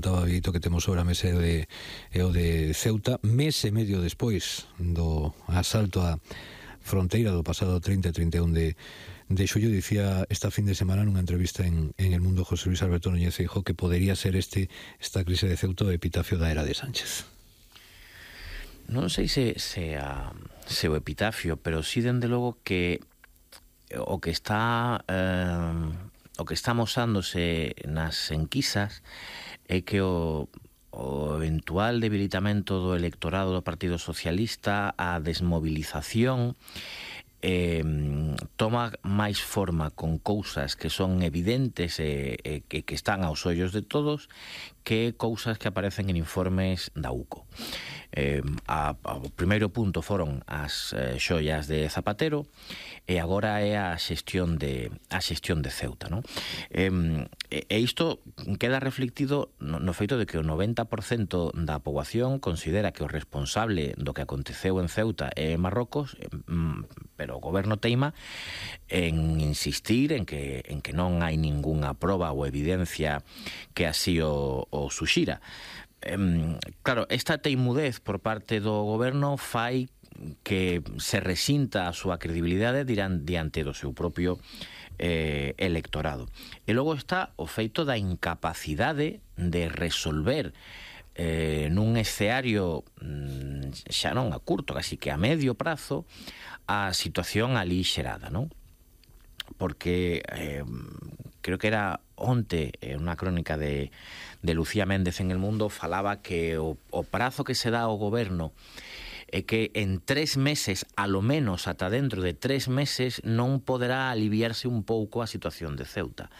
apuntaba Vito que temos sobre a mesa é o de Ceuta, mes e medio despois do asalto á fronteira do pasado 30 e 31 de xullo. Dicía esta fin de semana nunha entrevista en El Mundo José Luis Alberto Núñez Feijóo que podería ser esta crise de Ceuta o epitafio da era de Sánchez. Non sei se o epitafio, pero sí dende logo que o que está amosándose nas enquisas é que o eventual debilitamento do electorado do Partido Socialista, a desmovilización, toma máis forma con cousas que son evidentes e que están aos ollos de todos que cousas que aparecen en informes da UCO. O primeiro punto foron as xoias de Zapatero e agora é a xestión de Ceuta, non? E isto queda reflectido no feito de que o 90% da poboación considera que o responsable do que aconteceu en Ceuta é Marrocos, pero o goberno teima en insistir en que non hai ningunha proba ou evidencia que así o suxira. Claro, esta teimudez por parte do goberno fai que se resinta a súa credibilidade diante do seu propio electorado. E logo está o feito da incapacidade de resolver nun escenario xa non a curto, casi que a medio prazo, a situación ali xerada, non? Porque creo que era onte unha crónica de Lucía Méndez en El Mundo, falaba que o prazo que se dá ao goberno é que en 3 meses, a lo menos ata dentro de 3 meses, non poderá aliviarse un pouco a situación de Ceuta.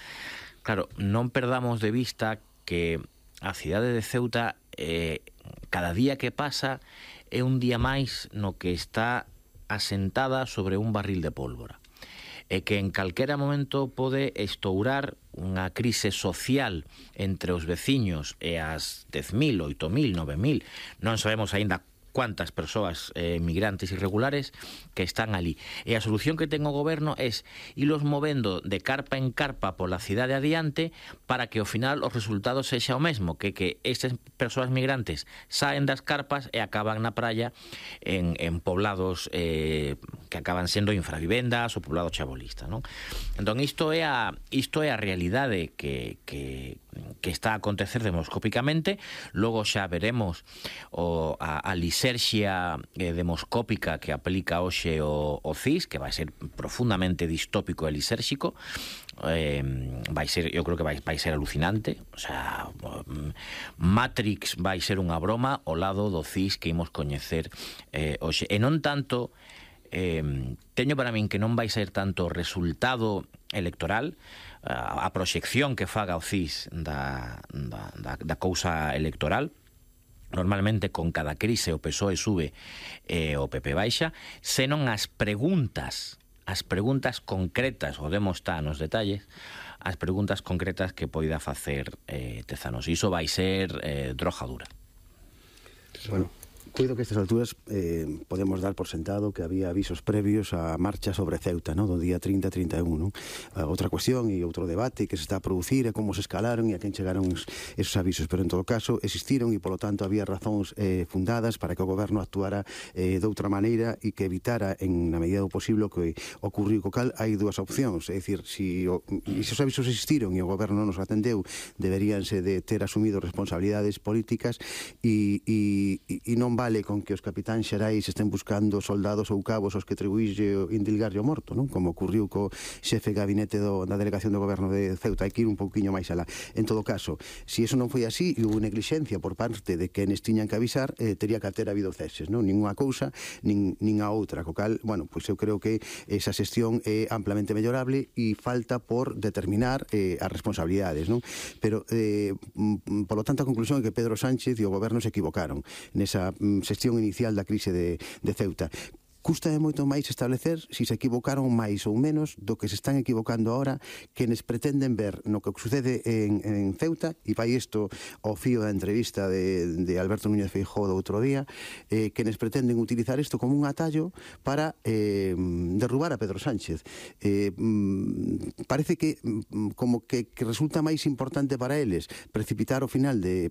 Claro, non perdamos de vista que a cidade de Ceuta cada día que pasa é un día máis no que está asentada sobre un barril de pólvora, e que en calquera momento pode estourar unha crise social entre os veciños e as 10.000, 8.000, 9.000, non sabemos aínda cuántas persoas migrantes irregulares que están ali. E a solución que ten o goberno é ilos movendo de carpa en carpa pola cidade adiante para que ao final os resultados sexa o mesmo, que estas persoas migrantes saen das carpas e acaban na praia en poblados que acaban sendo infravivendas ou poblados chabolistas, non? Entón isto é a realidade que está a acontecer demoscópicamente. Logo xa veremos a liserxia demoscópica que aplica hoxe o CIS, que vai ser profundamente distópico e lisérxico. Eu creo que vai ser alucinante. O sea, Matrix vai ser unha broma ao lado do CIS que imos coñecer hoxe. E non tanto, teño para min que non vai ser tanto o resultado electoral, a proxección que faga o CIS da cousa electoral. Normalmente con cada crise o PSOE sube e o PP baixa, senón as preguntas concretas, o demo está nos detalles, as preguntas concretas que poida facer Tezanos. Iso vai ser droga dura. Bueno, coido que a estas alturas podemos dar por sentado que había avisos previos á marcha sobre Ceuta, ¿no? Do día 30-31, ¿no? Outra cuestión e outro debate que se está a producir é como se escalaron e a quen chegaron esos avisos, pero en todo caso existiron e polo tanto había razóns fundadas para que o goberno actuara doutra maneira e que evitara na medida do posible o que ocurriu. Co cal hai dúas opcións, é dicir, se os avisos existiron e o goberno non nos atendeu, deberíanse de ter asumido responsabilidades políticas e non vale con que os capitáns xerais estén buscando soldados ou cabos aos que atribuílle indilgarlle o morto, non? Como ocurriu co xefe de gabinete da delegación do goberno de Ceuta. Hai que ir un pouquiño máis alá. En todo caso, se iso non foi así e houve neglixencia por parte de quenes tiñan que avisar, tería que ter habido ceses, non? Nin unha cousa, nin a outra. Co cal, bueno, pois eu creo que esa xestión é amplamente mellorable e falta por determinar as responsabilidades, non? Pero, polo tanto, a conclusión é que Pedro Sánchez e o goberno se equivocaron nesa xestión inicial da crise de Ceuta. Cústame moito máis establecer se equivocaron máis ou menos do que se están equivocando ahora quenes pretenden ver no que sucede en Ceuta, e vai isto ao fío da entrevista de Alberto Núñez Feijóo do outro día, quenes pretenden utilizar isto como un atallo para derrubar a Pedro Sánchez. Parece que como que resulta máis importante para eles precipitar o final de